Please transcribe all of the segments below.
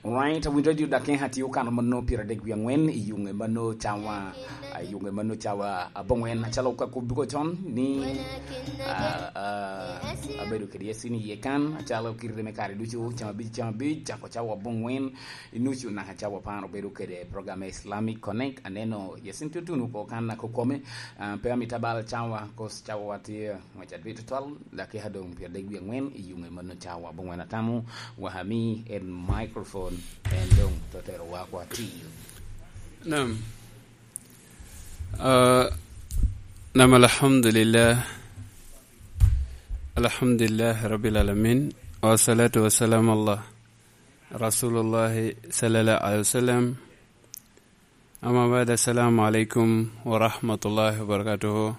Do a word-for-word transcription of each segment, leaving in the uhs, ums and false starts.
Alright, Win Radio Dakeng atye okano mano pire dek wie angwen i yunge mano cawa, a, yunge mano cawa abongwen, acalo ka kobbi ko con ni, a, a, abedo kede Yasin i ye kan, acalo kite me kare ducu, cawa abic, cawa abic, cako cawa abongwen, inucu naka cawa apar obedo kede program Islamic Connect, aneno Yasin tutuno ko kan naka okome, a, pe amito abal cawa, cause cawa watye, Maca dwe tutwal, dakika doŋ pyeradek wie aŋwen i yuŋe mano cawa abongwen atamo, wahami en microphone, en doŋ totero wa kwa tiyo. Nam. Ah, nam, alhamdulillah. Alhamdulillah, Rabbil Alamin. Wassalatu wassalamu ala Rasulullah sallallahu alaihi wasallam. Amma ba'd, assalamu alaikum wa rahmatullahi wa barakatuhu.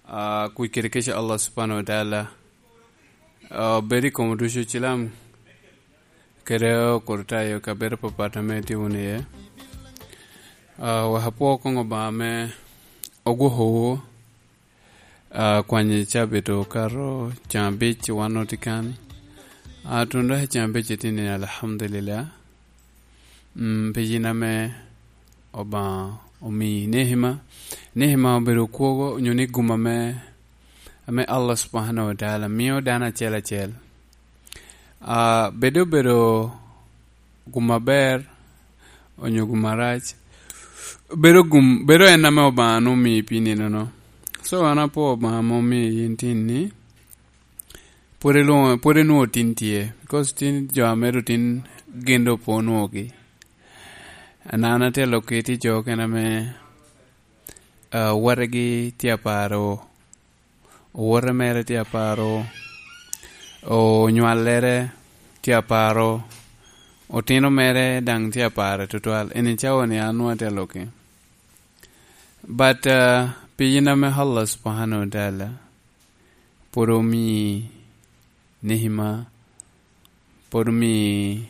Ah, kuc kede kec a Allah subhanahu wa ta'ala, ah, bed i kom ducu cilam kede okurtayo ka bedo papat ame tye wunu iye. Ah, wek apwo koŋ Obaŋa ame ogwokowu, ah, kwanyo cabit okato caŋ abic wan otye kan. Ah, tun dok i caŋ abic itye ni, alhamdulillah. Mm, pi yin ame Obaŋa omii nehima. Nehima obedo kwogo onyo ni gum ame, ame Allah subhanahu wa ta'ala mio dano acel acel. Ah, bed obedo gum aber onyo gum arac, bedo gum, bedo en ame Obaŋa nwoŋo omii pi nino-no. So, an apwoo Obaŋa ame omii yin tin ni, pwod ilwoŋo, pwod inwoŋo tin tye, because tin jo ame doŋ tin gin doŋ pwod onwoŋogi. An atye lok kit i jo okene ame, ah, wategi tye aparo, owote mere tye aparo, onywallere tye aparo, otino mere daŋ tye aparo tutwal. Eni cawa ni an nwoŋo atye lok-ki. But, ah, pi yin ame Allah subhanahu wa ta'ala pwod omii nehima, pwod omii,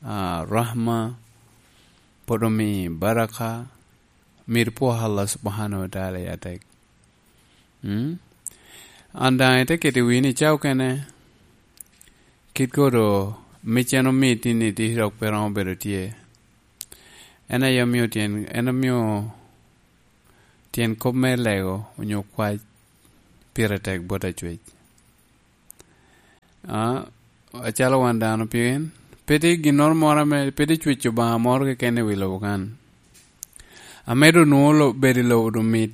ah, rahma, pwod omii baraka, myero ipwo Allah subhanahu wa ta'ala i atek. Mm? An daŋ ite keto i wii ni ca okene, kit kodo mic en omii tin ni tye dok pe romo bedo tye. En aye omio tyen, en omio tyen kop me lego onyo kwac pire tek bot Acwec. Ah, acalo wan dano, pien pe tye ginnoro moro ame, pe tye cwec Obaŋa moro keken i wi lobo kan. Ame doŋ nwoŋo lo-, bedo i lobo doŋ mit.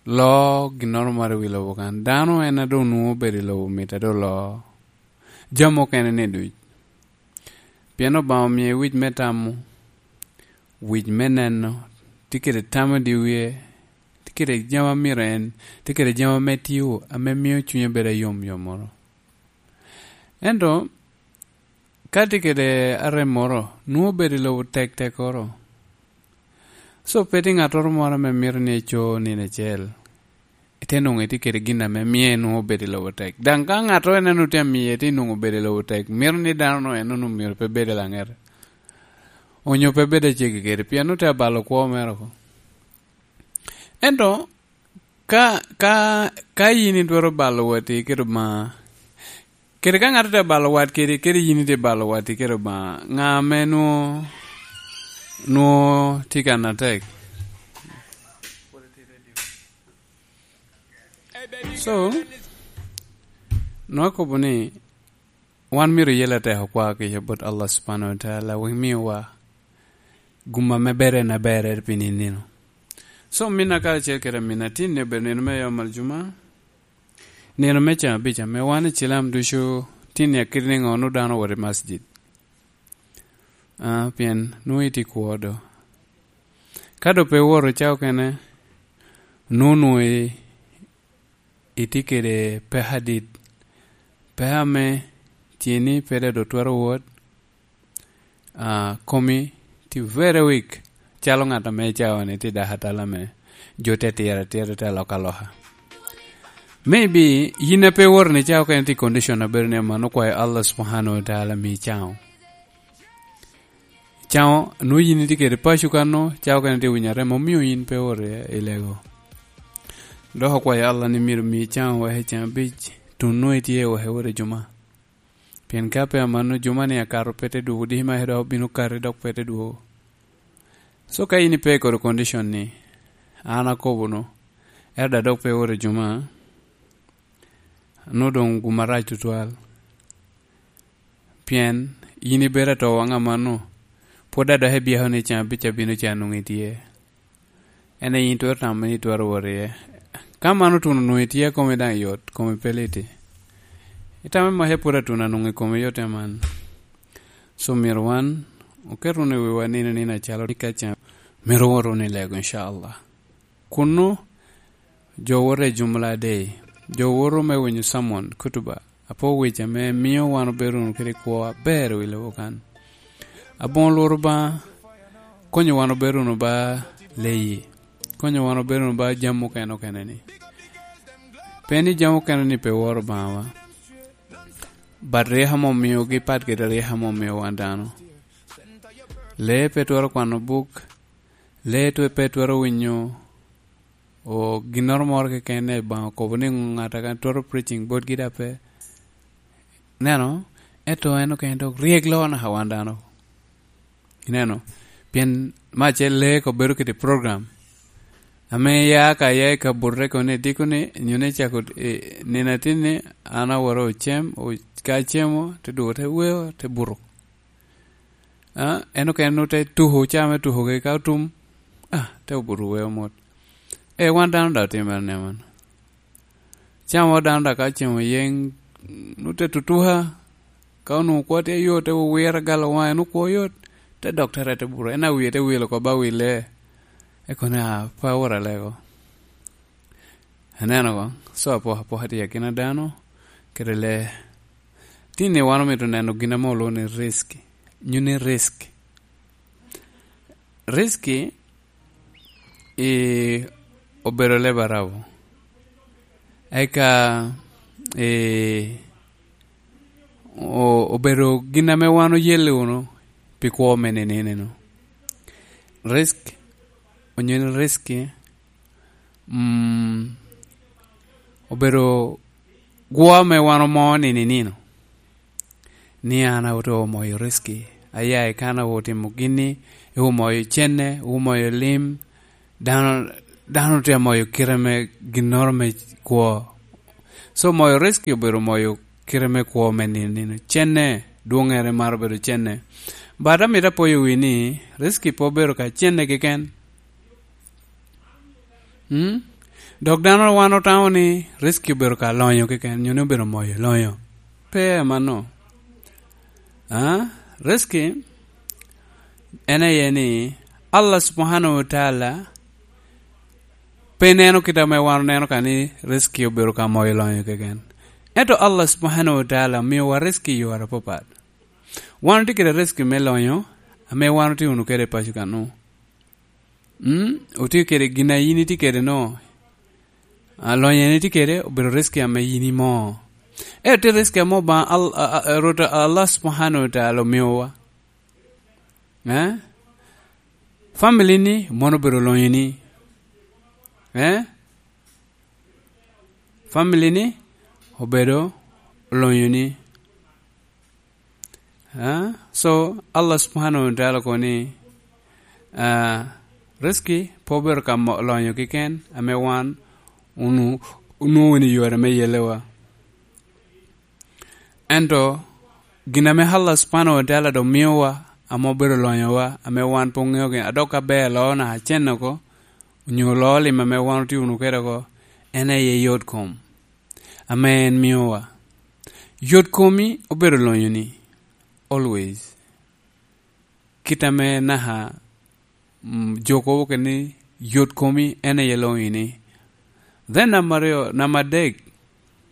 Loo ginnoro moro i wi lobo kan. Dano en a doŋ nwoŋo bedo i lobo mit a doŋ loo jami okene ni duc. Pien Obaŋa omie wic me tamo, wic me neno, tye kede tam i dye wie, tye kede jami a myero en, tye kede jami ame tio, ame mio cunye bedo ayom yommoro. Ento, ka tye kede arem moro, nwoŋo bedo i lobo tek tekkoro. So, pe tye ŋattoro moro ame mito ni eco nino acel, ite nwoŋo itye kede gin ame mie nwoŋo bedo i lobo tek. Daŋ ka ŋattoro en eno tye amiye, tye nwoŋo bedo i lobo tek, mito ni dano-nu en onwoŋo myero pe bed i laŋete, onyo pe bed aceggi kede, pien nwoŋo tye abalo kwo mere oko. Ento, ka, ka, ka yin itwero balo watti kede Obaŋa, kede ka ŋat tye balo wat kede, kede yin itye balo watti kede Obaŋa, ŋa ame nwoŋo, nwoŋo tye kan atek? So, nwoŋo akobo ni, wan myero oyel atek okwa kica bot Allah subhanahu wa ta'ala, wek miwa gum ame ber en aber pi nino. So, minna karacel kede aminna, tin ni obedo nino me yom aljuma, nino me caŋ abic ame wan i cilam ducu tin ni akit niŋo nwoŋo dano owoto i masjid. Ah, pien nwoŋo itye i kwo do. Ka do pe iwoto ca okene, nwoŋo nwoŋo i-, itye kede peko adit. Peko ame tye ni pe dok twero wot, ah, komi tye very weak, calo ŋat ame cawa ni tye dako atala ame jo te tiro atira, te aloka aloka. Maybe yin a pe iwoto ni ca okene tye i condition abedo ni aman okwayo Allah subhanahu wa ta'ala mi caŋo. Caŋo, nwoŋo yin itye kede paco kano, ca okene tye winyo arem, omio yin pe iwoto i, i lego. Dok okwayo Allah ni myero mi caŋo wek i caŋ abic, tun nwoŋo itye wek iwoto i juma. Pien ka pe amanno, juma-ni akato pe te dwogo, diki ma dok obino kati dok pe te dwogo. So ka yin ipe i kodi condition-ni, an akobo-nu, ento daŋ dok pe iwot i juma, nwoŋo doŋ gum arac tutwal. Pien yin ibedo ato waŋ amanno, pwod daŋ dok ibyeko ni can abic abino ca nwoŋo itye. En aye yin twero tamo ni itwero wot iye. Ka man otuno nwoŋo itye, komi daŋ yot, komi pe liti. Itamo ni maca pwod atuno anwoŋo i komi yot aman. So myero wan oket wunu i wiwa nino nino acalo ni ka can myero wot wunu i lego, incallah. Kunnu jo woto i jumla adei, jo woto me winyo sermon, kutuba, apo wic ame mio wan obedo wunu kede kwo aber i wi lobo kan. Aboŋo Lworo Obaŋa konyo wan obedo wunu ba leyi, konyo wan obedo wunu ba jami okene okene ni. Pe ni jami okene ni pe woro Obaŋawa, but ryeko ame omiogi pat kede ryeko ame omio wan dano. Lee pe twero kwano buk, lee twe-, pe twero winyo o ginnoro moro keken, Obaŋa okobo ni ŋat a kan twero preaching botgi daŋ pe. Ineno? Ento en okene dok ryek loo naka wan dano. Ineno? Pien me acel lee ko bedo kede program. Ame ya ka ya i kabutte kono i dikoni, nyo ni cako, eh, nino atin ni an aworo ocem, o-, ka acemo, te dwogo te weo, te buto. Ah, en okene nwoŋo te tuko, caa me tuko kede ka otum, ah, te obuto weo mot. Eh, wan dano daŋ otimere ni aman. Caa mo dano daŋ ka cemo yeŋ, nwoŋo te tutuka, ka onwoŋo kwo tye yot, te wiro agalo waŋe, nwoŋo kwo yot, te dok te rette buto. En a wie te wil oko ba wille, eko ni, ah, pe awot alego. Ineno ko? So apokapoka tye i akina dano kede lee. Tin ni wan omito neno gin ame olwoŋo ni risk, nyo ni risk. Risk i obedo leb Arabu. Eka, eh, o-, obedo gin ame wan oyelle wunu pi kwo me ninini-nu. Risk, onyo ni risk, mm, obedo gwo ame wan omo nino i nino, ni an awot omoyo riski, aya i kan awo timo gini, iwumoyo cene, iwumoyo lim, dano, dano tye amoyo kite me ginnoro me kwo. So, moyo riski obedo moyo kite me kwo me nino nino. Cene, dwoŋŋere maro bedo cene. But amito apoyo wi ni, riski pe obedo ka cene keken. Mm? Dok dano wan otamo ni riski obedo ka lonyo keken, nyo ni obedo moyo lonyo. Pe amanno. Ah, riski en aye ni Allah Subhanahu wa Ta'ala pe neno kit ame wan oneno ka ni riski obedo ka moyo lonyo keken. Ento Allah Subhanahu wa Ta'ala miowa riski i yore apapat. Wan otye kede riski me lonyo, ame wan otye wunu kede i paco kanu. Mm, otye kede gin a yin itye kede no. A, lonyo en itye kede, obedo riski ame yin imo. Ento tye riski ame Obaŋa Al-, a, a, a, Rwot Allah Subhanahu wa Ta'ala omiowa. Eh? Family ni mono obedo lonyo ni. Eh? Family ni obedo lonyo ni. Ah, so, Allah Subhanahu wa Ta'ala kono ni, ah, riski pe obedo ka mo-, lonyo keken, ame wan onu-, onwoŋo wunu i yore me yelewa. Ento, gin ame Allah Subhanahu wa Ta'ala doŋ miowa, ame obedo lonyowa, ame wan pe oŋeo gin, a dok ka ber loo naka cen oko, onyo loo lim ame wan otye wunu kede oko, en aye yot kom, ame en miowa. Yot komi obedo lonyo ni, always. Kit ame naka, mm, jo kobo kede ni, yot komi en aye lonyo ni. Then namba aryo, namba adek,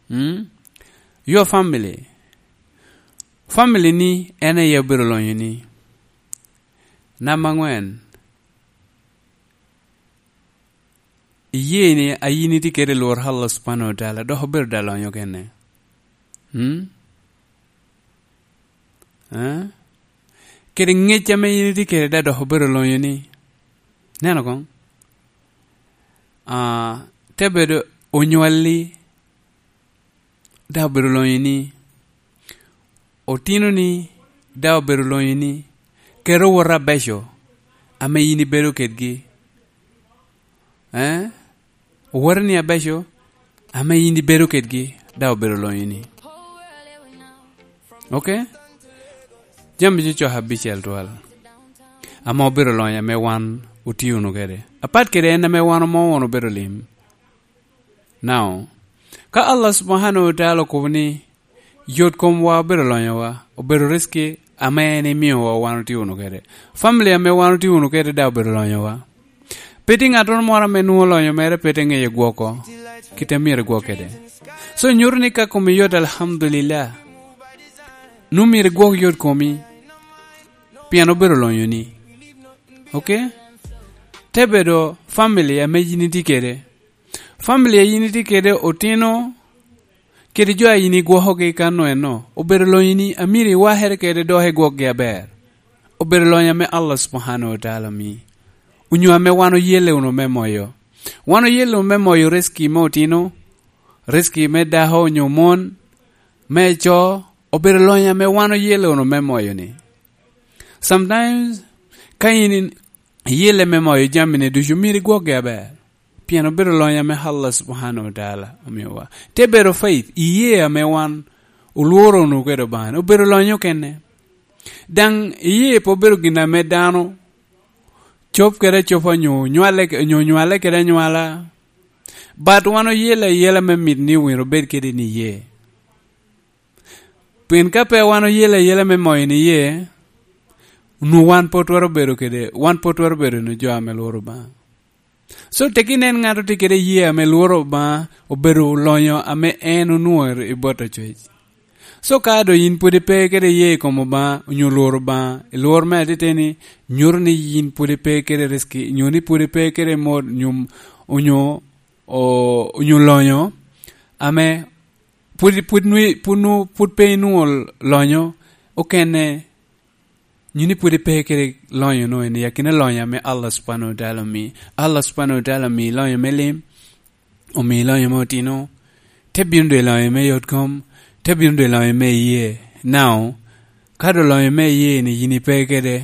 mm, your family. Family ni en aye obedo lonyo ni. Namba angwen, iye ni a yin itye kede lworo Allah Subhanahu wa Ta'ala, dok obedo da lonyo kene. Hmm? Eh? Kede ŋec ame yin itye kede da dok obedo lonyo ni. Neno koŋ. Ah, te bedo onywalli, da obedo lonyo ni. otinoni daŋ obedo lonyo ni, kede owot abeco ame yin ibedo kedgi. Eh? Owoteni abeco ame yin ibedo kedgi daŋ obedo lonyo ni. Ok? Jami cocok abicel twal ame obedo lonyo ame wan otio wunu kede. Apat kede en ame wan omo wunu obedo lim. Now, ka Allah subhanahu wa ta'ala okobo ni yot komwa obedo lonyowa, obedo rizki ame en imiowa wan otio wunu kede. Family ame wan otio wunu kede daŋ obedo lonyowa. Pe tye ŋattoro moro ame nwoŋo lonyo mere pe te ŋeyo gwoko kite myero igwok kede. So nyuto ni ka komi yot, alhamdulillah. Nwoŋo myero igwok yot komi pien obedo lonyoni. Ok? Te bedo family ame yin itye kede. Family a yin itye kede, otino kede jo a yin igwokogi kan-nu eno, obedo lonyoni a myero iwakere kede dok igwokgi aber. Obedo lonyo ame Allah subhanahu wa ta'ala omi, onyo ame wan oyelle wunu me moyo. Wan oyelle wunu me moyo rizki me otino, rizki me dako onyo mon, me co, obedo lonyo ame wan oyelle wunu me moyo-ni. Sometimes, ka yin in-, iyelle me moyo jami-ni ducu, myero igwokgi aber. Pien obedo lonyo ame Allah subhanahu wa ta'ala omiowa. Te bedo faith, iye ame wan olworo wunu kede Obaŋa-ni, obedo lonyo kene. Daŋ iye pe obedo gin ame dano cob kede acoba onyo nywale, onyo nywale kede anywala. But wan oyelle ayela me mit ni myero obed kede niye. Pien ka pe wan oyelle ayela me moyo niye, onwoŋo wan pe twero bedo kede, wan pe twero bedo wunu jo ame lworo Obaŋa. So, tek inen ŋat otye kede iyee ame lworo Obaŋa, obedo lonyo ame en onwoŋo i bot acwec. So, ka doŋ yin pwod ipe kede iyee i kom Obaŋa, onyo lworo Obaŋa, i lworo me atiteni, nyuto ni yin pwod ipe kede rizki, onyo ni pwod ipe kede mot, onyo, onyo, o-, onyo lonyo, ame pwod, pwod nwi-, pwod nwo-, pwod pe inwoŋo lonyo okene. Nyo ni pwod ipe kede lonyo-nu, en i akina lonyo ame Allah subhanahu wa ta'ala omi. Allah subhanahu wa ta'ala omi lonyo me lim, omi lonyo me otino, te bino doŋ i lonyo me yot kom, te bino doŋ i lonyo me iyee. Now, ka doŋ lonyo me iyee-ni yin ipe kede,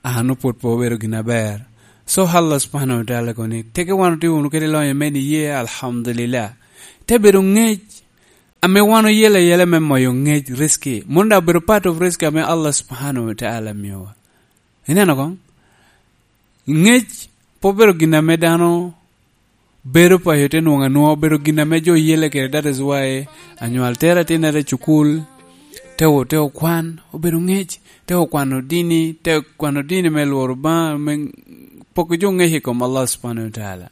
ano pwod pe obedo gin aber. So Allah subhanahu wa ta'ala kono ni, teke wan otye wunu kede lonyo me niye, alhamdulillah. Te bedo ŋec, ame wan oyelle ayela me moyo ŋec, rizki. Mano daŋ obedo part of rizki ame Allah subhanahu wa ta'ala miowa. Ineno koŋ? Ŋec pe obedo gin ame dano bedo paco te nwoŋo anwoŋa, obedo gin ame jo oyelle kede. That is why anywal tero atinnere i cukul, te o-, te okwan, obedo ŋec, te okwano dini, te okwano dini me lworo Obaŋa, me poko jo ŋec i kom Allah subhanahu wa ta'ala.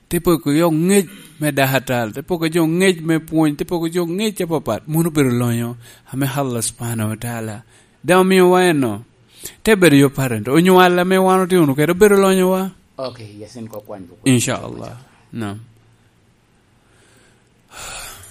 Te poko jo ŋec me dako atal, te poko jo ŋec me pwony, te poko jo ŋec apapat. Mano obedo lonyo ame Allah subhanahu wa ta'ala daŋ omiowa eno. Te bedo yo parent, onywal ame wan otye wunu kede obedo lonyowa. Ok, Yasin, kok kwany buku. Inshallah. Naam.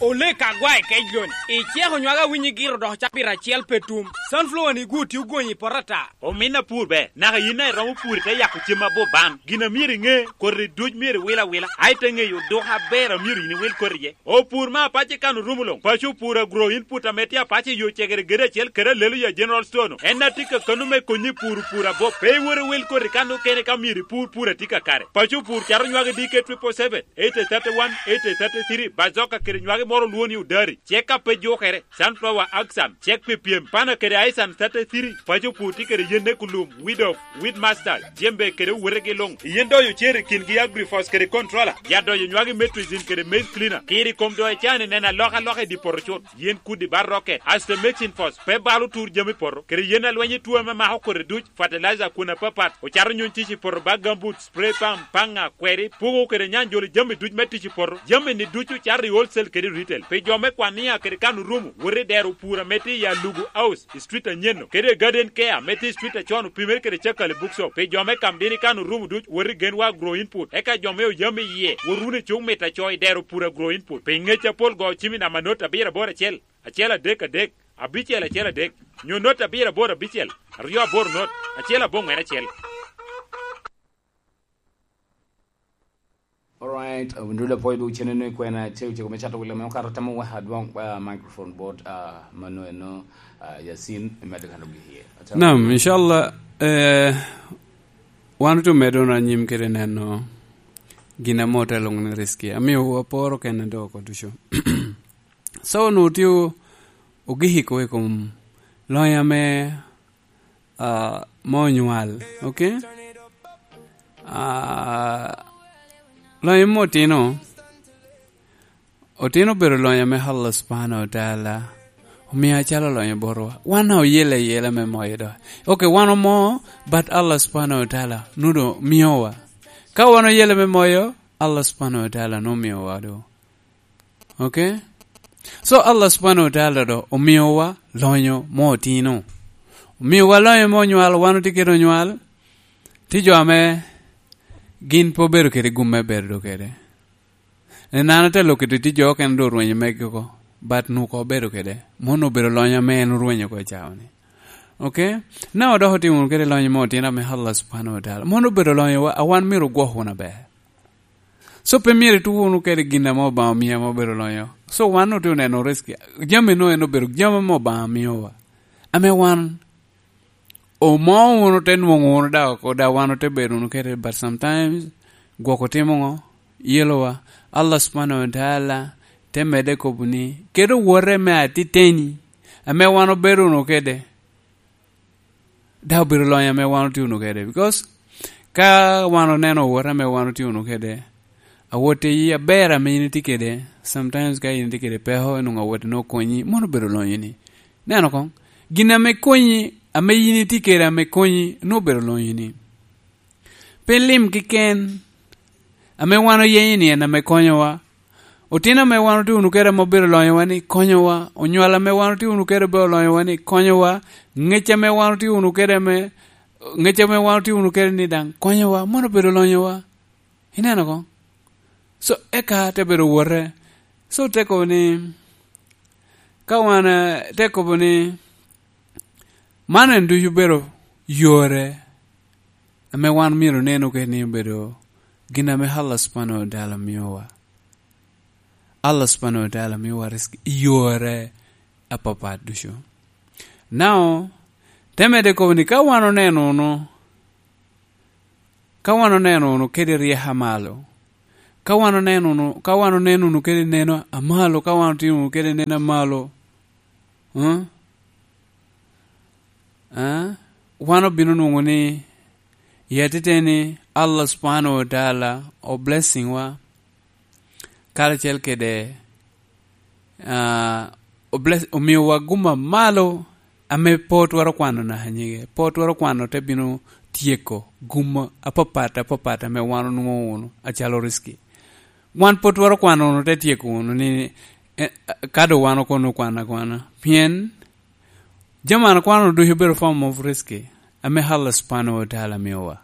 Olek agwa i kec loni. Iceko nywage awinyi giro dok cabit acel pe tum. Sunflower ni gwo tye ogonyi i poto ata. Omin apur be, naka yin a iromo pur ite yako cem abo ban. Gin a myero iŋe, koti duc myero iwil awila. A ite ŋeyo odok aber a myero yin iwil koti iye. Opur me apac i kan orumo luŋ. Paco opur agro input ame tye apac i yo cegere gede acel kede Hallelujah General Store-nu. En a tye kakano me konyi puro pur abo. Pe iwot iwil koti kan okene ka myero ipur pur a tye kakare. Paco opur cato nywage D K triple seven, eighty thirty-one, eighty thirty-three, bazoka kede nywage moro olwongo ni odari. Cek a pe jukere, sunflower axan, cek pi pyem, pana kede aisan thirty-three, paco pur tye kede yen ekulum, weed of, weed master, jembe kede owotegi luŋ. Yen doyo cer i kingi agrifos kede controller, ya doyo nywagi metricin kede maize cleaner. Kiri kom doyo can i neno alokaloka i di poto cut. Yen kudi bar rocket, asto mexin fos, pe balo tur jami poto, kede yen alweny i tuo ame mako kodi duc, fertilizer kun apapat, ocato nyuny tic i poto ba gambut, spray pump, paŋa, kweri, puko kede nyanjolo jami duc me tic i poto. Jami ni ducu cato i wholesale kede retail. Pi jo me kwan nia kede kan orumo, wot i dero pur ame tye i Alugu House, i street anyenno, kede i Garden Care ame tye i street acon opimere kede Cakali Bookshop. Pi jo me kam dini kan orumo duc, wot i Genwa Agro Input. Eka jo me oyam i yie, wot wunu i cuk mit aco i dero pur Agro Input. Pi ngec apol go cim i namba not abiro aboro acel, acel adek adek, abicel acel adek, nyo not abiro aboro abicel, aryo aboro not, acel aboŋwen acel. Ndul apwoyo dwe cene ni kwena cego cego me cato wila me okato tamo wa adwong, ah, microphone bot, ah, mano eno, ah, Yasin, imedde kan ogi iye. Naam, inshallah, eh, wan otye medo na nyim kede neno gin ame ote lwoŋo ni Rizki. Amio aporo kene do oko ducu. So, onwoŋo tye o-, ogiko i kom lonya me, ah, me onywal, okay? Ah, lonya me otino, otino obedo lonya me Allah Subhanahu wa Taala, omio acalo lonya botwa. Wan oyele ayela me moyo do. Okay, wan omo, but Allah Subhanahu wa Taala nwoŋo miowa. Ka wan oyele me moyo, Allah Subhanahu wa Taala nwoŋo miowa do. Okay? So, Allah Subhanahu wa Taala do omiowa lonyo me otino. Omiowa lonyo me onywal, wan otye kede onywal. Tye jo ame gin pe obedo kede gum me bedo kede. En an ate lok kede tye jo okene do orwenyo megi oko, but nwoŋo obedo kede. Mano obedo lonyo ame en orwenyo oko i cawa-ni. Okay? Na odoko tye wunu kede lonyo me otino ame Allah Subhanahu wa Taala. Mano obedo lonyo wa, a wan myero ogwok wunu aber. So, pe myero itu wunu kede gin ame Obaŋa omio ame obedo lonyo. So, wan otye oneno Rizki. Jami no en obedo jami ame Obaŋa miowa. Ame wan omo wunu te nwoŋo wunu da oko, da wan ote bedo wunu kede, but sometimes gwok otimo ŋo? Yelowa. Allah Subhanahu wa Taala te medde kobo ni, kede owote me atiteni, ame wan obedo wunu kede, da obedo lonyo ame wan otye wunu kede. Because ka wan oneno owote ame wan otye wunu kede, awote i aber ame in itye kede, sometimes ka in itye kede peko, inwoŋo awote nwoŋo okonyi, mano obedo lonyoni. Neno koŋ, gin ame konyi, ame in itye kede ame konyi, nwoŋo obedo lonyoni. Pe lim keken ame wan oyenyo ni en ame konyowa. Otino ame wan otye wunu kede ame obedo lonyowa ni konyowa. Onywal ame wan otye wunu kede obedo lonyowa ni konyowa. Ŋec ame wan otye wunu kede ame, ŋec ame wan otye wunu kede ni daŋ konyowa. Mano obedo lonyowa. Ineno koŋ? So, eka te bedo wote. So, te kobo ni, ka wan, eh, te kobo ni, man en ducu obedo yore ame wan myero oneno kede ni obedo gin ame Allah Subhanahu wa Taala miowa. Allah Subhanahu wa Taala miowa Rizki i yore apapat ducu. Now, te medde kobo ni ka wan oneno wunu, ka wan oneno wunu kede ryeko amalo, ka wan oneno wunu, ka wan oneno wunu kede neno amalo, ka wan otimo wunu kede neno amalo, huh? Ah, wan obino nwoŋo ni, i atiteni, Allah Subhanahu wa Taala o blessing wa, karacel kede, ah, o bless-, omiowa gum amalo ame pe otwero kwano naka nyige. Pe otwero kwano te bino tyeko gum apapat, apapat ame wan onwoŋo wunu acalo Rizki. Wan pe otwero kwano wunu te tyeko wunu ni, eh, ka doŋ wan okono kwano akwana. Pien jami an akwano ducu obedo form of Rizki ame Allah Subhanahu wa Taala miowa.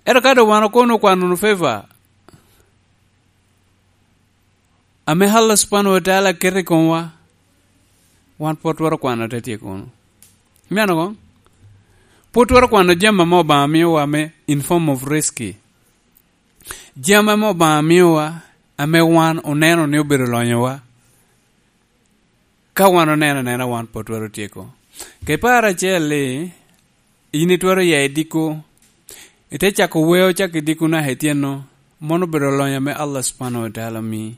Ento ka doŋ wan okono kwano wunu favor ame Allah Subhanahu wa Taala keto i komwa, wan pwod twero kwano te tyeko wunu. Ineno koŋ? Pwod twero kwano jami ame Obaŋa miowa me in form of Rizki. Jami ame Obaŋa miowa, ame wan oneno ni obedo lonyowa. Ka wan oneno anena, wan pwod twero tyeko. Ka iparo acel ni, in itwero ya i diko, ite cako weo cak i diko naka ityeno, mano obedo lonyo ame Allah Subhanahu wa Taala omi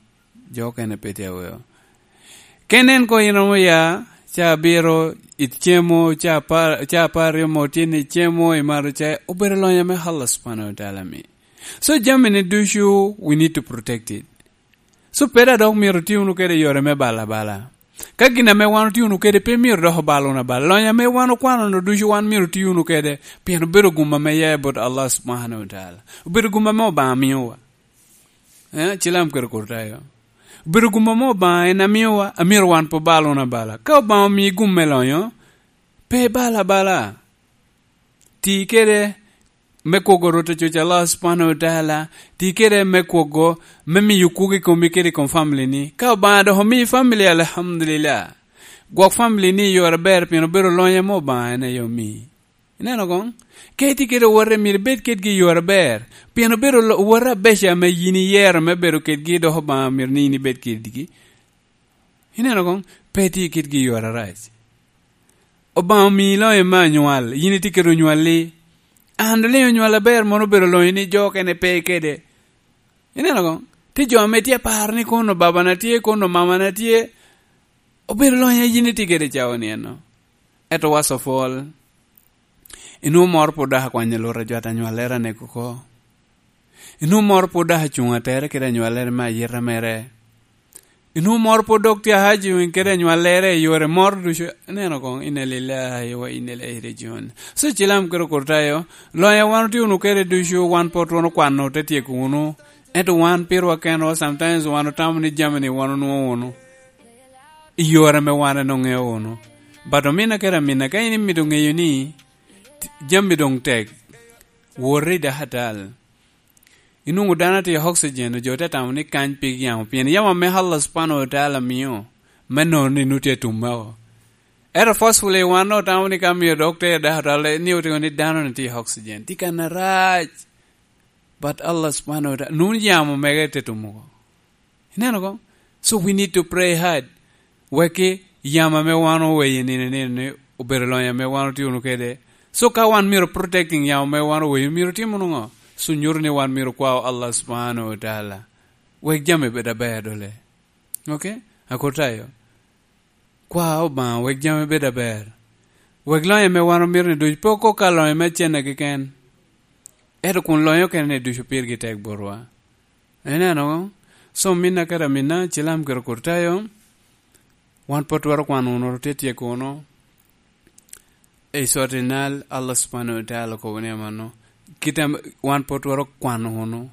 jo okene pe tye aweo. Ka inen koŋ in romo ya, ca abiro icemo, ca apar, ca apar aryo mo tye ni icemo, imato cai, obedo lonyo ame Allah Subhanahu wa Taala omi. So, jami-ni ducu, we need to protect it. So, pe dok myero iti wunu kede i yore me bala bala. Ka gin ame wan otye wunu kede pe myero dok obal wunu abala. Lonyo ame wan okwano-nu ducu wan myero iti wunu kede, pien obedo gum ame ya i bot Allah Subhanahu wa Taala. Obedo gum ame Obaŋa miowa. Eh, Cilam kede Kurtayo. Obedo gum ame Obaŋa en amiowa, amyero wan pe obal wunu abala. Ka Obaŋa omii gum me lonyo, pe ibal abala. Ti kede me kwogo Rwot Acuc Allah Subhanahu wa Taala, ti kede me kwogo, me miyo kwogo i komi kede i kom family-ni. Ka Obaŋa dok omii family, alhamdulillah. Gwok family-ni i yore aber, pien obedo lonyo ame Obaŋa en aye omii. Ineno koŋ? Ka itye kede owote, myero ibed kedgi i yore aber, pien obedo lo-, owote abeco ame yin iyero me bedo kedgi, dok Obaŋa myero ni yin ibed kedgi. Ineno koŋ? Pe itye kedgi i yore arac. Obaŋa omii lonyo me anywal, yin itye kede onywalli. An doliŋ onywal aber, mono obedo lonyo ni jo okene pe kede. Ineno koŋ? Tye jo ame tye aparo ni kono babana tye, kono mamana tye. Obedo lonyo a yin itye kede cawa ni eno. Ento was of all, inwoŋo moro pwod dok akwanyo lwot ajwat anywallere anek oko. Inwoŋo moro pwod dok acuŋ atere kede anywallere me ayita mere. Inwoŋo moro pwod dok tye ahaji kede anywallere i yore moro ducu. Ineno koŋ, inna lillahi wa inna ilaihi rajiun. So, cilam kede okurtayo, lonyo a wan otye wunu kede ducu, wan pwod twon okwano te tyeko wunu. Ento wan pirwa kenwa, sometimes wan otamo ni jami-ni wan onwoŋo wunu i yore ame wan en oŋeo wunu. But omina kede amina, ka in imito ŋeyo ni t-, jami doŋ tek, wot i dakatal. Inwoŋo dano tye i oxygen, jo te tamo ni kany pig yamo, pien yamo ame Allah subhanahu wa ta'ala mio me nono ni nut tye tum mako. Ento forcefully wan otamo ni ka mio dokter dakatal ni otiko ni dano ni tye i oxygen, tye kan arac. But Allah subhanahu wa ta'ala, nun yamo mege te tumo oko. Ineno ko? So we need to pray hard. Wekki yamo ame wan oweyo i nino nino ni obedo lonyo ame wan otye wunu kede. So ka wan myero protecting yamo ame wan oweyo, myero tim wunu ŋo? So nyuto ni wan myero kwao Allah subhanahu wa ta'ala. Wek jami bed aber dole. Okay? Akotayo. Kwa Obaŋa wek jami bed aber. Wek lonyo ame wan omito ni ducu pe okok ka lonyo me cene keken. Ento kun lonyo okene ni ducu pirgi tek botwa. Ineno? So, minna kede aminna, cilam kede okurtayo, wan pwod twero kwano wunu, tye tyeko wunu. I cotinal, Allah subhanahu wa ta'ala okobo ni amanno. Kit ame wan pwod twero kwano wunu.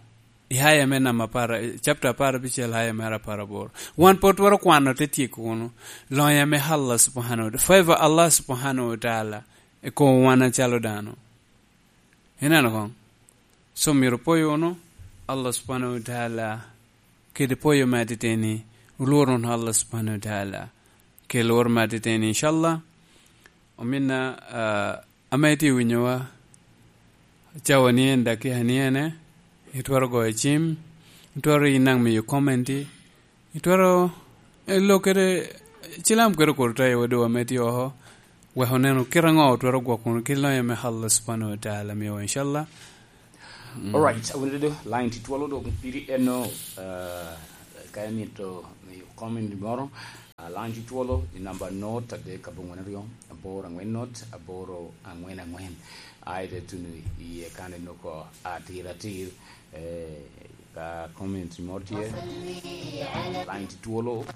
I aya me namba apar, chapter apar abicel, aya mere apar aboro. Wan pwod twero kwano te tyeko wunu. Lonyo ame Allah subhanahu wa ta'ala. Favor Allah subhanahu wa ta'ala. I kom wan acalo dano. Ineno koŋ? So myero poyo wunu Allah subhanahu wa ta'ala kede poyo me atiteni, olwor wunu Allah subhanahu wa ta'ala kede lwor me atiteni, inshallah. Ominna, ah, ame itye winyowa, cawa ni en, dakika ni ene, itwero goyo cim, itwero inaŋ miyo commenti, itwero, eh, lo kede cilam kede kor tayo wadwa me tye oko, wek oneno kit aŋo otwero gwok wunu kit lonyo me Allah subhanahu wa ta'ala miyowa, inshallah. Mm. Alright, awinyo dodo, line tye twolo dok piri eno, ah, ka imito miyo comment moro, ah, line tye twolo i namba not adek abongwen aryo, aboro angwen not, aboro angwen angwen. Ai te tuno iye kan inoko atir atir, eh, ka comment moro tye, line tye twolo.